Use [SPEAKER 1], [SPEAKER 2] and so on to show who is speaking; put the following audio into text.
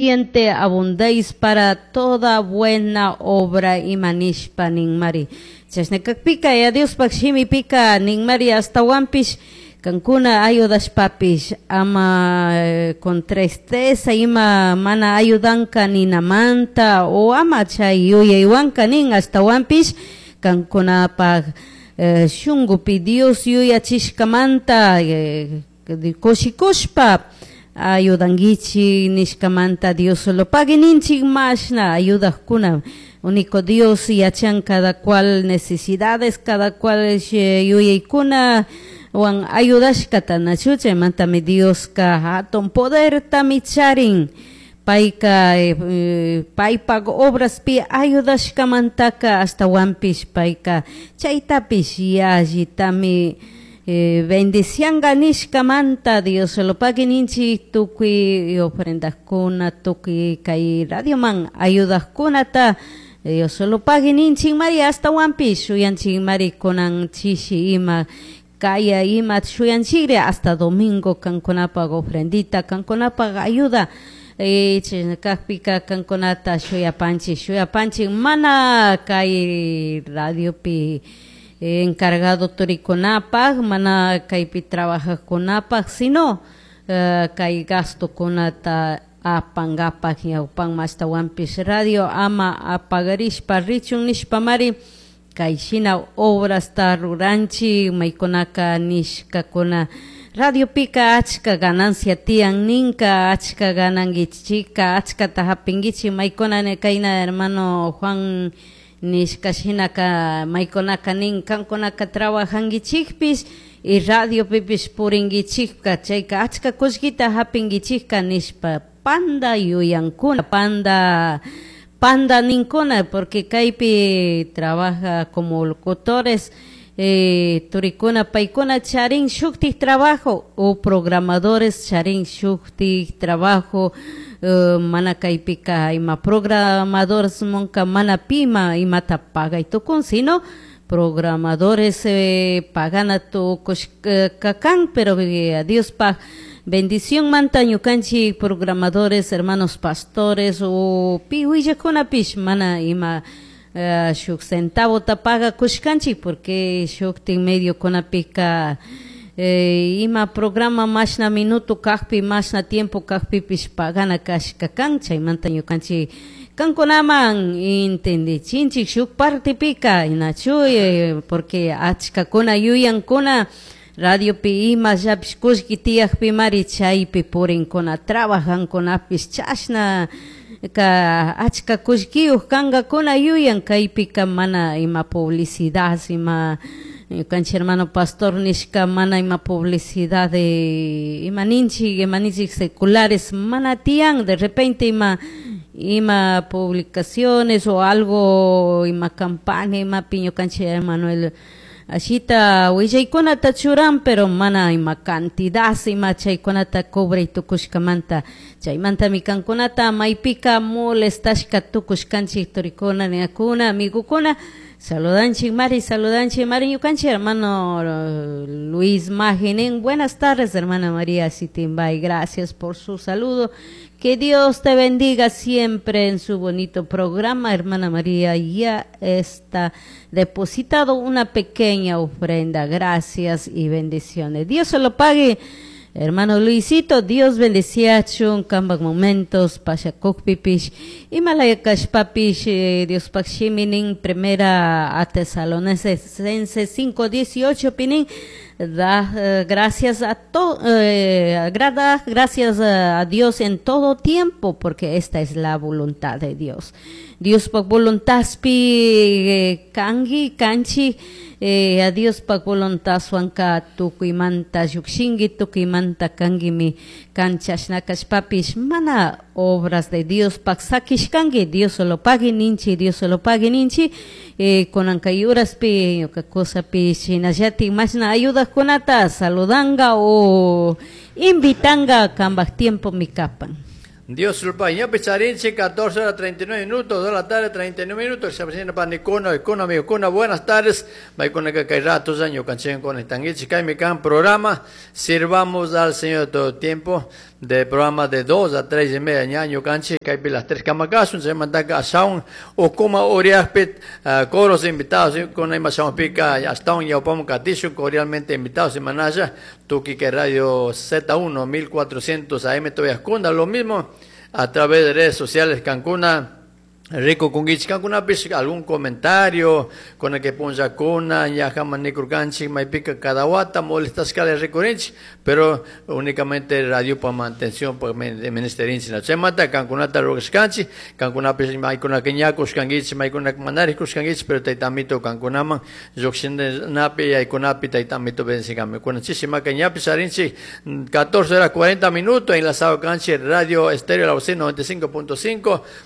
[SPEAKER 1] Suficiente abundéis para toda buena obra ima nishpa ninmari. Chashna cajpica, Yaya Diospaj shimipica ninmari ashtahuanpish cancuna ayudashpapish ama con tristeza ima mana ayudanca ninamanta o ama chai yuyaihuanca nin ashtahuanpish cancunapaj shungupi Dios yuyachishcamanta cushicushpa ayudanguichij nishcamanta Dios solo pagui ninchij mashna ayudajcuna único Dios yachan cada cual necesidades, cada cual yuyaicuna huan ayudashcata nachu chaimantami Diosca jatun podertami charin paica paipaj obraspi ayudashcamantaca ashtahuanpish paica chaitapish yallitami bendicianga nishcamanta Dios solo pagui ninchij tucui ofrendacuna tucui cai radioman ayudajcunata Dios solo pagui ninchij mari ashtahuanpish shuyanchij mari cunan chishi ima caya ima shuyanchigri hasta domingo cancunapaj ofrendita cancunapaj ayuda chashna cajpica cancunata shuyapanchik shuyapanchik mana cai radiopi encargado turicunapaj mana caipi trabajajcunapaj sino cai gastocunata apangapaj ñawpanman ashtahuanpish radio ama apagarishpa richun nishpamari cai shina obrasta ruranchik maykunaka nishkakuna radiopika achka ganancia tiyan ninka achka gananguichika achkata japinguichik maykuna kayna hermano Juan nishka shinaka maykunaka nin kankunaka trabajanguichikpish y radiopipish puringuichikka chayka achka kullkita japinguichikka nishpa panda yuyankuna panda panda ninkuna porque kaypi trabaja como locutores turikuna paykuna charin shuktik trabajo o programadores charin shuktik trabajo mana kaypika ima programadores munka mana pima imata pagay tukun sino programadores pagana tukushka kan pero Diospaj bendición manta ñukanchik programadores hermanos pastores o pi willakunapish mana ima shuk centavota pagakushkanchik porque shuktik mediokunapika ima programa mashna minuto kajpi mashna tiempo kajpipish pagana kashka kan chaymanta ñukanchik kankunaman entendichinchik shuk partepika nachu porque achkakuna yuyankuna radiopi imallapish kullki tiyakpimari chaypi purinkuna trabajankunapish chashna ka achka kullkiyuq kankakuna yuyan kaypika mana ima publicidad ima ñukanchik hermano pastor nishka mana ima publicidad ima ninchik ima ninchik seculares mana tiyan de repente ima ima publicaciones o algo ima campaña imapi ñukanchik Emanuel ashita willaykunata churan pero mana ima cantidad ima chaykunata cobray tukushkamanta chaymantami kankunata maypika molestashka tukushkanchik turikuna ninakuna amigokuna saludanchik mari saludanchik mari ñukanchik hermano Luis Maginin buenas tardes hermana María Sitimbay gracias por su saludo. Que Dios te bendiga siempre en su bonito programa, hermana María. Ya está depositado una pequeña ofrenda. Gracias y bendiciones. Dios se lo pague. Hermano Luisito, Dios bendeciachun, kambak momentos, pashakukpipish, imalaya kashpapish, Dios shiminin, primera a Tesalonicenses 5:18 pinin, da gracias a to, agrada gracias a Dios en todo tiempo, porque esta es la voluntad de Dios. Dios pak voluntadpi kangi, kanchi, a Dios pak voluntad suanka tukuymanta llukshinki, tukuymanta kankimi kanchashna kashpapish mana obras de Dios pak sakishkanki, Dios solo pagui ninchi, Dios solo pagui ninchi, kunan kay uraspi ñuka kusapi shinallatik mashna ayudajkunata saludanga o invitanga kambaj tiempo mikapan.
[SPEAKER 2] Dios lo ñapi charinchi, 14 horas 39 minutos, 2 de la tarde 39 minutos, se avecina panicuna, icuna, amigocuna, buenas tardes, maicuna que kay rato ñukanchik con tanguichi, kaymi kan programa, sirvamos al Señor todo tiempo, de programa de 2 a 3 y media ña ñukanchik, kaypi las 3 kamakasun, se mandaka asaun, ukuma uriaspit, coros invitados, con ima pica hasta un yaupam katishu, cordialmente invitados y manaya, tuki que Radio Z1 1400 AM todavía lo mismo a través de redes sociales Cancuna, Rico kungichik kankunapish algún comentario con el que punllakuna ñajaman nikurkanchik maypika cada wata molestashkala rikurinchik, pero únicamente radio pa mantención pa ministerinchik. Chaymanta kankunata rurashkanchik, kankunapish maykunaka ñakushkankichik, maykunaka manari kushkankichik, pero tayta amito kankunaman lluqshinapi yaykunapi tayta amito bendecigami. Kunan chishimaka ñapish arinchik 14 horas 40 minutos enlazado kanchik Radio Estéreo La Bocina 95.5.